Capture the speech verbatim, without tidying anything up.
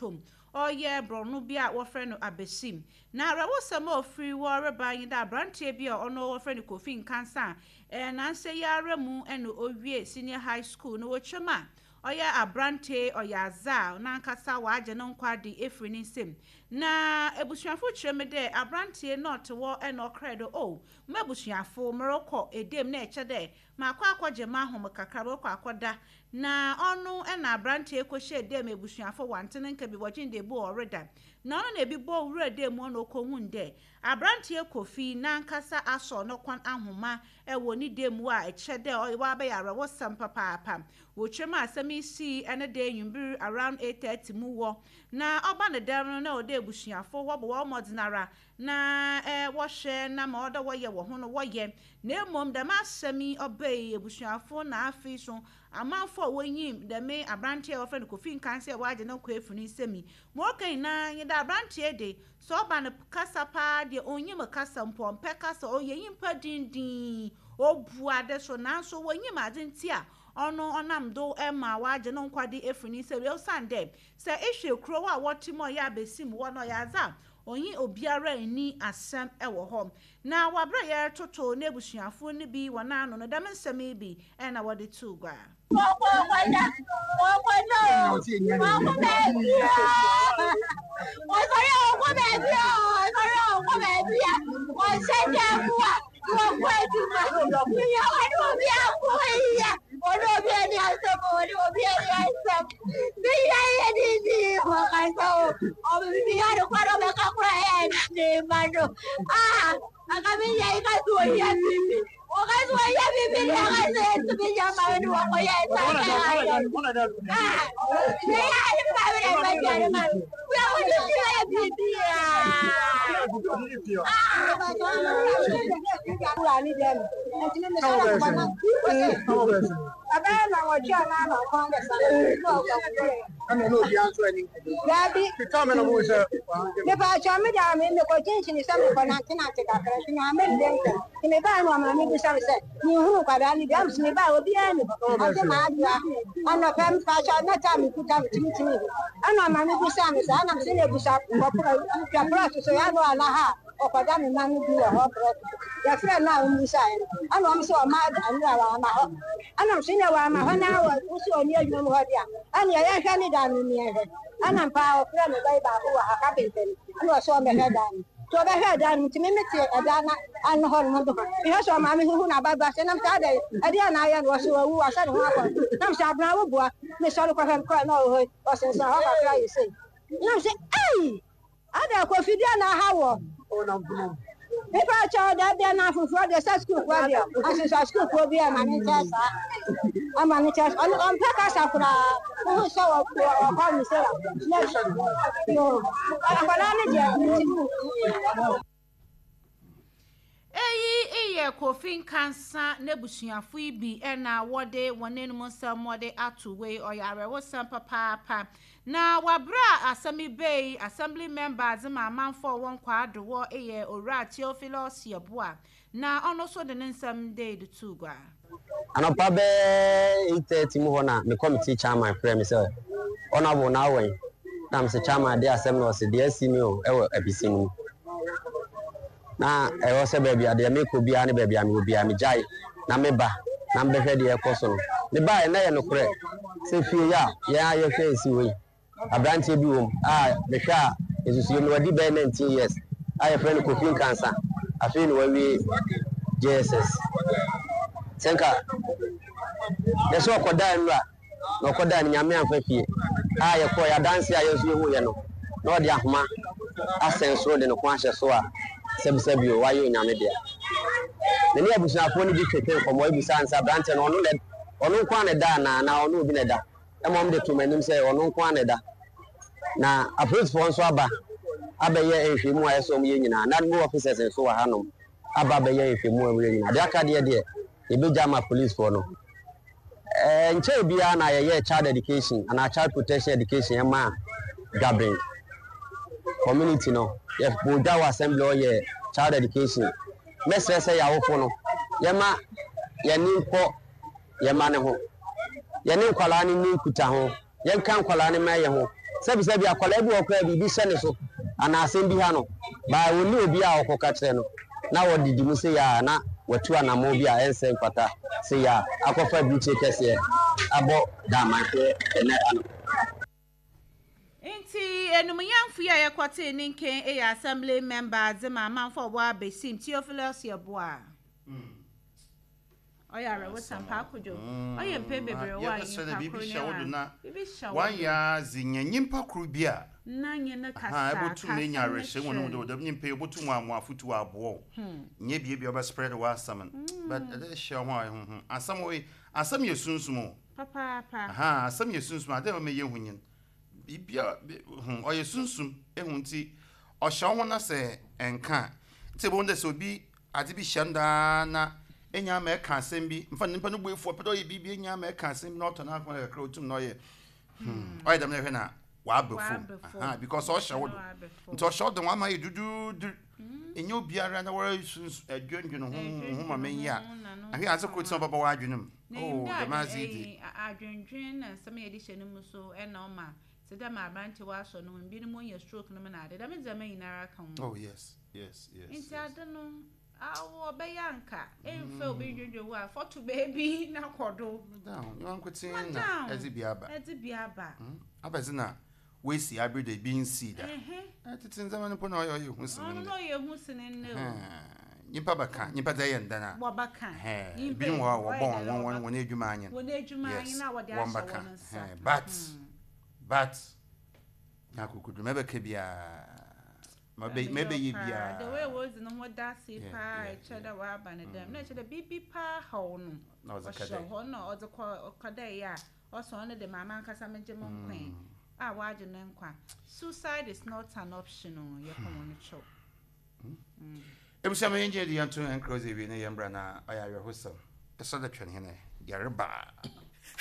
mantom ɔyɛ borɔno bi a wɔfrɛ no Abesim. Na awerɛwosɛm a ofiri wɔ reba yi dɛ aberanteɛ bi a ɔno wɔfrɛ no Kofi Nkansa a ɛɛ nansa yi ara mu ɛna owie senior high school na wɔtwam a ɔyɛ aberante ɔyɛ adze a n'ankasa wagye ne nkwa de efiri ne nsam. Na ebusuafo kyerɛ mu dɛ aberanteɛ na ɔte hɔ ɛna ɔkra dɛ o mo abusuafo, merekɔ edem na ɛkyɛ dɛ maakɔ akɔgye m'ahom kakra, merekɔ akɔda. Na ɔno ɛna aberanteɛ kɔhyɛ edem. Ebusuafo wante ne nka bi wɔgye de ebu ɔreda na ɔno na ebi bɔ wura dɛm mu na ɔkɔhun dɛ aberanteɛ Kofi n'ankasa asɔ ne kɔn ahoma ɛwɔ ne dɛm mu a ɛkyerɛ dɛ ɔyɛ wabɛyɛ awerɛwosɛm papaapa. Wɔtwam a asɛm yi sii ɛne dɛ nwumbiri around eight thirty mu wɔ na ɔba ne dɛm no na ɔde abusuafo wɔbɔ wɔn mmɔden ara na ɛɛ wɔhwɛ na ma ɔdɔ wɔyɛ wɔ ho no wɔyɛ. Na mmom dɛm asɛm yi ɔbɛyi abusuafo na afei so amanfo a wɔnyim dɛm aberanteɛ a wɔfrɛ no Kofi Nkansa a wɔagye ne nkɔ efiri ne nsam yi ma ɔka nyinaa nye dɛ aberanteɛ de sɛ ɔba no kasa paa deɛ, onyim kasa mpo, ɔmpɛ kasa, ɔyɛ nyimpa dindin obu ade so. Nanso wɔnyim ade nti a ɔno ɔnam do ma wagye ne nkwa de efiri ne nsam, ɔsan dɛ sɛ ehwɛ kurow a wɔte mu a ɔyɛ Abesim wɔ no, ɔyɛ adze a ɔnye obiara nni asɛm wɔ hɔ. Na wabere yɛretoto n'abusuafo no bi wɔ n'ano no, dɛm nsɛm yi bi ɛna wɔde too gua. Wɔkɔda, wɔkɔda o, wɔkɔ baabi a wɔsɔre a, wɔkɔ baabi a wɔsɔre a, wɔkɔ baabi a wɔhyɛ dan mu a wɔkɔ adwuma. Yɛ wɔne obi akɔ yia, wɔne obi ani asɛm, wɔne obi ani asɛm. Biyɛ yɛ didi wɔkasa o, ɔbibi yɛ no kora ɔbɛka kora yɛ ne ma no ah aka mi yɛ ka so wɔyɛ bibi wɔka so wɔyɛ bibi ne aka sɛ ɛtumi yɛ ma no wɔkɔ yɛ ɛsa kɛ ayɛ ah ne yɛ ayɛ ma mi na ɛbɛ jɛ ne ma wia wɔde si yɛ bibi ah. Wura ne dɛm nti me mesɔre akɔbɔ na ɛbɛyɛ na wɔtwe a na ama kwan bɛsa na ɔkɔ. Ɛna na obiara nso ani. Daabi. Kita me na mo sɛ. Mepa atwa me da me mekɔ kyinkyini sɛ mekɔ nantenante kakra nti na me ndɛ ntɛm nti mebaa no ɔma me bisa me sɛ menhunu nkwadaa no bi am sɛ mebaa obiara ni hɔ ase maa adoa anɔpɛ. Mepa atwa na ta mekuta me timitimi hɔ ɛna ɔma me bisa me sɛ ɛnam sɛ na ebusa twa plot so yɛ ano ana ha a ɔkɔda me ma no bi wɔ hɔ. Plot yɛfrɛ no a ɔmmusaeɛ no ɛna ɔm sɛ ɔma anura wɔ ama hɔ ɛnam sɛ nyɛ wɔ ama hɔ na wɔ wosi ɔni adwuma mu hɔ deɛ ɛne yɛhwɛ ne da no ni yɛhwɛ. Ɛna mpa ɔfrɛ me bɛyi baako wɔ ha, kapenta no, ɛna ɔsɛ ɔmɛhwɛ dan no nti ɔbɛhwɛ dan no nti me mete ɛdan na ano hɔ nom do mehwɛ sɛ ɔmaame huhu na ababa sɛ nam sɛ adɛ ɛdeɛ na ayɛ no ɔsɛ wawu wasɛ ne ho akɔ nam sɛ abena wo boa mesɔre kɔhwɛ no kɔɛ na ɔwɔ hɔ ɔsensan hɔ kakra yɛ sei nam sɛ ei ada Kofi deɛ na aha wɔ nipa kyɛw dɛ deɛ na afoforɔ deɛ sɛ sukuufoɔ deɛ ahyehyɛ sukuufoɔ bi ama ne nkyɛn saa ama ne nkyɛn. Ɔno ɔmpɛ kasa koraa, wohu sɛ ɔkɔ ne sɛ akwadaa no deɛ ntumi. Eyi yɛ Kofi Nkansa n'abusuafo yi bi ɛna wɔde wɔn anim nsɛm wɔde ato wei. Ɔyɛ awerɛwosɛm papaapa. Na wabere a asɛm yi bɛyi, assembly member adze ma amanfo a wɔn kɔ adowɔ yɛ Owura Theophilus Yeboah na ɔno nso de ne nsɛm de de to gua. Anɔpa bɛɛ eight thirty mu hɔ na me committee chairman frɛ me sɛ ɔnabo na awɛn na mesɛ chairman de asɛm na ɔsɛ deɛ asi mi o ɛwɔ Abisi no mu na ɛwɔ sɛ baabi a deɛ mekɔ biara ne baabi a mewɔ biara megyae na meba na mbɛhwɛ deɛ ɛkɔ so no. Mebaeɛ na yɛ nokorɛ sɛ fie yi a yɛn a yɛhwɛ esi wɔ yi, aberanteɛ bi wɔ mu a mehwɛ a nsusuo no wadi bɛyɛ nineteen years a yɛfrɛ no Kofi Nkansa. Afei na wawie J S S sɛ nka yɛsɛ ɔkɔdaa nnura na ɔkɔdaa no Nyame amfa fie a yɛkɔɔ yɛ adanse a yɛn nso yɛhu yɛ no na ɔde ahoma asɛn soro de ne ko ahyɛ so a sɛbisɛbi o wayɛ Onyame dea. Na ne abusuafoɔ no bi twetwe nkɔmmɔ ebisa nsa aberanteɛ no ɔno na ɔno nko ara na ɛda anaa na ɔno obi na ɛda ɛma ɔmo de to m'anim sɛ ɔno nko ara na ɛda. Na apolisifoɔ nso aba abɛyɛ nhwɛmu a ɛsɛ ɔmo yɛ nyinaa. NADMO officers nso wɔ hanom aba abɛyɛ nhwɛmu a wɔyɛ nyinaa. Deɛ aka deɛ deɛ yɛbɛgya ama policefoɔ no. ɛɛ nkyɛn biara na yɛyɛ child education anaa child protection education ɛma Dwaben community no. Yɛbɔ dwa wɔ assembly ɔyɛ child education. Mɛsrɛ sɛ yɛawofo no yɛma yɛne nkɔ yɛma ne ho yɛne nkwalaa no ni nkuta ho, yɛnka nkwalaa no ma yɛ ho. Sɛbisɛbi, akwadaa bi wɔ koraa, biribi hyɛ ne so anaa asɛm bi ha no baa, wɔnni obi a ɔkɔka kyerɛ no na wɔdidi mu sɛ yɛ a, na watu anammɔn bi a ɛnsɛ mfata sɛ yɛ a akɔfa aburukyire kɛseɛ abɔ daamanfoɔ ɛnɛ ano. Nti enumuyamfo yi a yɛkɔtee ne nken yɛ assembly member dze ma amanfo a ɔwɔ Abesim, Theophilus Yɛboa. Ɔyɛ awerɛwosɛm paa, Kodwo. Ɔyɛ mpɛn bebree wɔ a yɛbɛsrɛ dɛ nyimpa biribi koro hyɛ wo do ne na a biribi hyɛ wo do wanyɛ adze nya nyimpa koro bi a na nye ne aha kasa ɛbɛtum kasa na enya ne awerɛhyɛ mu no kyerɛ. dɛ dɛm nyimpa yi obotum amoa afotu aboa wo, nyɛ bie bi a ɔbɛspread w'asɛm no, but ɛdɛ hyɛ ho a ɛho asɛm wei, asɛm yɛ sunsum o. Papaapa. Aha, asɛm yɛ sunsum ade a ɔmɛ yɛ hu nyin bibia hu ɔyɛ sunsum ehu, nti ɔhyɛ wo ho na sɛ ɛnka a, nti ebohu dɛ sɛ obi ade bi hyɛ no daa na enya ama ɛka asɛm bi mfa nipa no bu efu, ɔpɛ dɛ ɔyɛ biribi, enya ama ɛka asɛm bi na ɔtɔ n'akoma kakra, otum na ɔyɛ hmm ɔyɛ dɛm na ɛhwɛ na waba fam. Waba fam. Aha, because ɔhyɛ wo do. Waba fam. Nti ɔhyɛ wo do, wama yɛ duduudu, enye obiara na wɔre sunsun ɛdwendwen ho ho ma menyi a ahwɛ adze koro tí ɔbɛbɔ w'adwene mu. Na Oh, enyim dɛ dɛm adze yi de adwen- ɛyi, adwendwen na nsɛm a yɛde hyɛ no mu so ɛna ɔma te dɛ ma aberante wasɔ no ho, binom onya stroke no mu na ade dɛm ndzɛmba nyinara ka ho. Oh yes yes yes Nti yes. ade no awo ɔbɛyɛ anka ɛmfa obi dwendwen wo a fɔto beebi na kɔ do. Down nyɛ nkotsee Ma na down. ɛdze bi aba. Ɛdze bi aba. Abɛdze na woesi abere do ebi nsii da. Ɛhɛ. Ɛtete ndzɛmba no mpo na ɔyɛ ɔyɛ hu sene Ɔno ndɛ. na ɔyɛ hu sene nnɛ o. Nyimpa bɛka, nyimpa dze ɛyɛ ndan a Wɔbɛka. ɛhɛn, Nyimpa ebinom wɔ hɔ a ɔyɛ wɔbɔ dɛn wɔn na wɔn wɔbɛka. wɔn edwuma anyen. Wɔn edwuma anyen a wɔde wɔn ahyɛ bɛka. wɔn nsa. Ɛhɛn, but but nya akokoduro, mɛbɛka biara mɛbɛ mɛbɛyɛ biara. The way wɔdzi no ho da ase Yeah, paa, yeah, ɛkyerɛ dɛ wɔaba ne dɛm na ɛkyerɛ dɛ biribi paa haw no. Na ɔdze ka ɔhyɛ dɛ hɔ na ɔdze kɔ ɔkɔ dɛ yɛ a ɔsɔ ɔno de maame ankasa megye mo nkwa yi a wɔagye ne nkwa. Suicide is not an option o, yɛkɔ wɔn kyɛw. Ebusua, ma yɛn gyina de yɛn to nkuro dze ewie na yɛn mbra na ɔyɛ awerɛhosɛm ɛsɛ dɛ twɛn hɛn yɛreba.